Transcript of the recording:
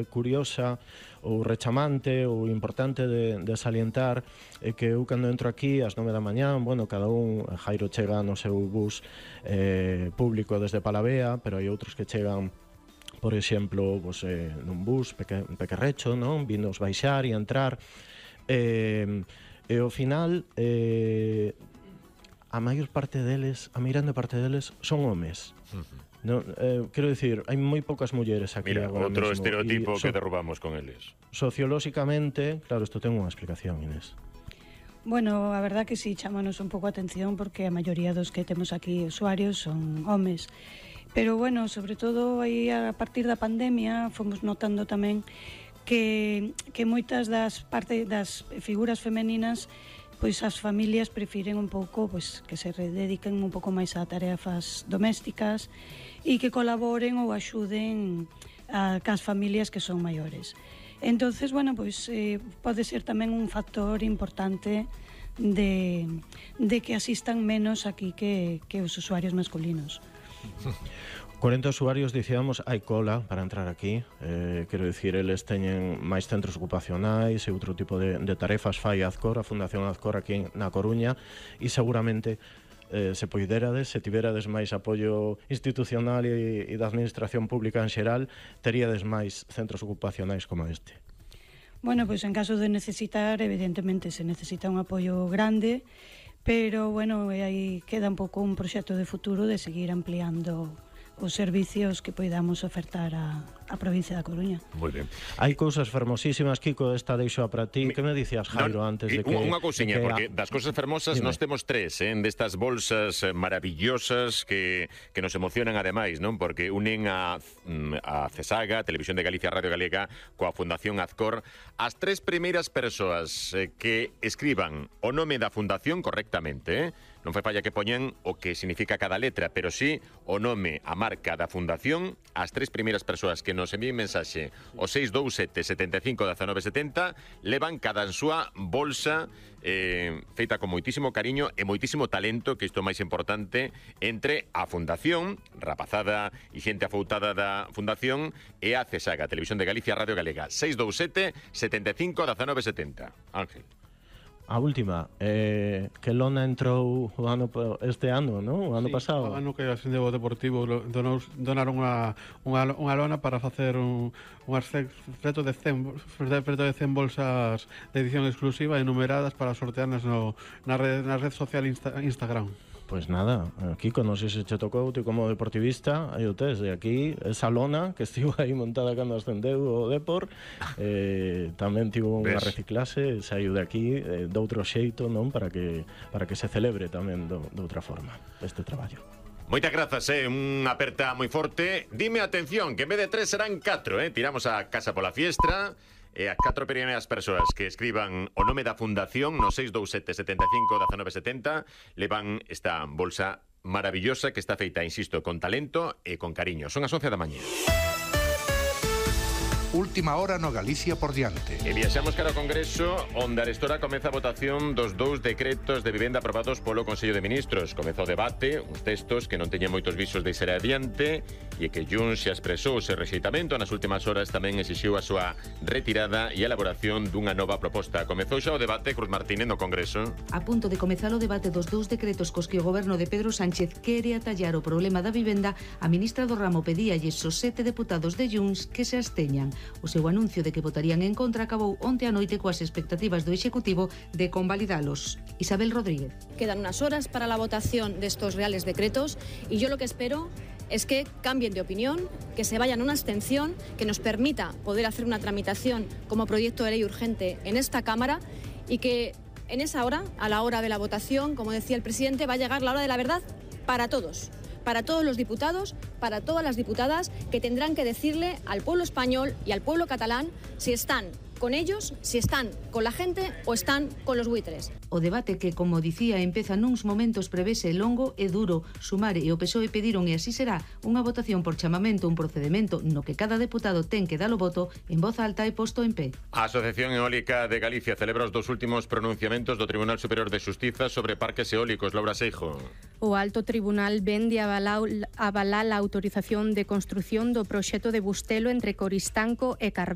curiosa ou rechamante ou importante de salientar é que eu cando entro aquí ás 9 da mañá, bueno, cada un, Jairo chega no seu bus público desde Palavea, pero hai outros que chegan, por exemplo, pues, nun bus pequerrecho, non? Vinos baixar e entrar, e ao final a maior parte deles, a meirande parte deles son homes. No, quero dicir, hai moi poucas mulleres aquí. Mira, agora outro mesmo, estereotipo que derrubamos con eles. Sociolóxicamente, claro, isto ten unha explicación, Inés. Bueno, a verdad que sí, chámanos un pouco a atención porque a maioría dos que temos aquí usuarios son homes. Pero bueno, sobre todo aí a partir da pandemia fomos notando tamén que moitas das figuras femeninas, pois as familias prefiren un pouco pois que se dediquen un pouco máis a tarefas domésticas e que colaboren ou axuden cas familias que son maiores. Entonces, bueno, pois pode ser tamén un factor importante de que asistan menos aquí que os usuarios masculinos. 40 usuarios, dicíamos, hai cola para entrar aquí. Quero dicir, eles teñen máis centros ocupacionais e outro tipo de tarefas fai Azcor, a Fundación Azcor aquí na Coruña, e seguramente se poiderades, se tiverades máis apoio institucional e da administración pública en xeral, teríades máis centros ocupacionais como este. Bueno, pois en caso de necesitar, evidentemente se necesita un apoio grande, pero bueno, aí queda un pouco un proxecto de futuro de seguir ampliando os servicios que poidamos ofertar a provincia da Coruña. Moi ben. Hai cousas fermosísimas, Kiko, esta deixo para ti. Que me dicías, Jairo, antes de que... Unha cousiña, porque das cousas fermosas nos temos tres, destas bolsas maravillosas que nos emocionan ademais, non? Porque unen a CESAGA, Televisión de Galicia, Radio Galega, coa Fundación Azcor, as tres primeiras persoas que escriban o nome da Fundación correctamente, non fai falla que poñan o que significa cada letra, pero sí o nome, a marca da Fundación, as tres primeiras persoas que nos envíen mensaxe o 627 75 19 70 levan cada en súa bolsa feita con moitísimo cariño e moitísimo talento, que isto é máis importante, entre a Fundación, rapazada e xente afoutada da Fundación, e a CESAGA, Televisión de Galicia, Radio Galega. 627 75 19 70. Ángel. A última, que lona entrou este ano, non? O ano pasado. O ano que a Xendeo Deportivo donaron unha lona para facer unhas preto de 100 bolsas de edición exclusiva e numeradas para sortearnas na red social Instagram. Pois nada, Kiko, non sei se che tocou ti como deportivista, aí o tes, e aquí esa lona que estivo aí montada cando ascendeu o Depor, tamén tivo unha reciclase, saiu de aquí de outro xeito, non, para que se celebre tamén de outra forma este traballo. Moitas grazas, unha aperta moi forte. Dime atención, que en vez de 3 serán 4, Tiramos a casa pola fiestra. E as 4 primeiras persoas que escriban o nome da Fundación no 627 75 19 70 levan esta bolsa maravillosa que está feita, insisto, con talento e con cariño. Son as 11 da mañá. Última hora no Galicia por diante. E viaxamos cara ao Congreso, onde arestora comeza a votación dos 2 decretos de vivenda aprobados polo Consello de Ministros. Comeza o debate, uns textos que non teñen moitos visos de ser adiante e que Junts xa expresou o seu rexeitamento. Nas últimas horas tamén exixiu a súa retirada e a elaboración dunha nova proposta. Comezou xa o debate, Cruz Martínez, no Congreso. A punto de comezar o debate dos 2 decretos cos que o goberno de Pedro Sánchez quere atallar o problema da vivenda, a ministra do ramo pedíalles aos 7 deputados de Junts que se absteñan. O seu anuncio de que votarían en contra acabou onte a noite coas expectativas do Executivo de convalidalos. Isabel Rodríguez. Quedan unas horas para la votación de estos reales decretos y yo lo que espero es que cambien de opinión, que se vayan a una abstención, que nos permita poder hacer una tramitación como proyecto de ley urgente en esta Cámara y que en esa hora, a la hora de la votación, como decía el presidente, va a llegar la hora de la verdad para todos los diputados, para todas las diputadas que tendrán que decirle al pueblo español y al pueblo catalán si están con ellos, si están con la gente o están con los buitres. O debate que, como dicía, empeza nuns momentos prevese longo e duro. Sumar e o PSOE pediron, e así será, unha votación por chamamento, un procedemento no que cada deputado ten que dar o voto en voz alta e posto en pé. A Asociación Eólica de Galicia celebra os dos últimos pronunciamentos do Tribunal Superior de Xustiza sobre parques eólicos. Laura Seijo. O Alto Tribunal ven de avalar a autorización de construción do proxecto de Bustelo entre Coristanco e Carballo.